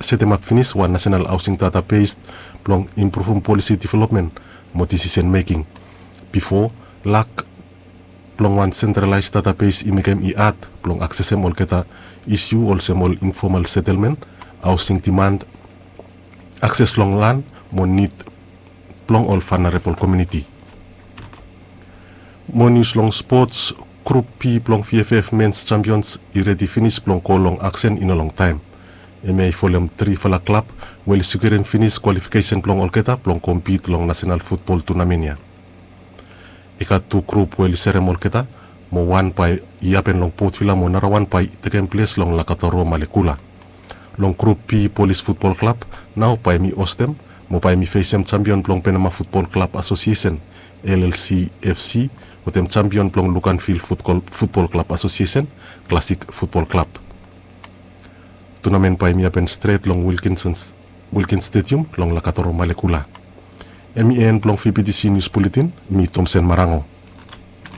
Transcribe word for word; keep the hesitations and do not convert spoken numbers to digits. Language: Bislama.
setemap finis wan nasenal haosing databes blong impruvum polisi developmen mo disisen meking. Bifo, lak blong wan sentralaes databes i mekem i had blong aksesem olgeta isiu olsem ol infomal setelmen, haosing diman, akses long lan mo nid blong ol vanarebol komiuniti. Mo nius long spots, grup B blong VFF mens jampions i redi finis blong go long aksen i no longtaem. Hemia i folem trifala klab we oli sekiurim finis kwalifikesen blong olgeta blong kompit long nasenal futbol tunamen ya. I gat tu grup we oli serem olgeta, mo wan bae i hapen long Port Vila mo narawan bae i tekem ples long Lakatoro Malekula. Long grup B, Polis Futbol Klab nao bae hemi hostem mo bae hemi fesem jampion blong Penama Futbol Klab Asosiesen, LLCFC, wetem jampion blong Luganville Futbol Klab Asosiesen, Klasik Futbol Klab. Tunamen bae hemi hapen stret long Wilkins Stadium long Lakatoro Malekula. Hemi en blong VBTC Nius Buletin, mi Tomsen Marango.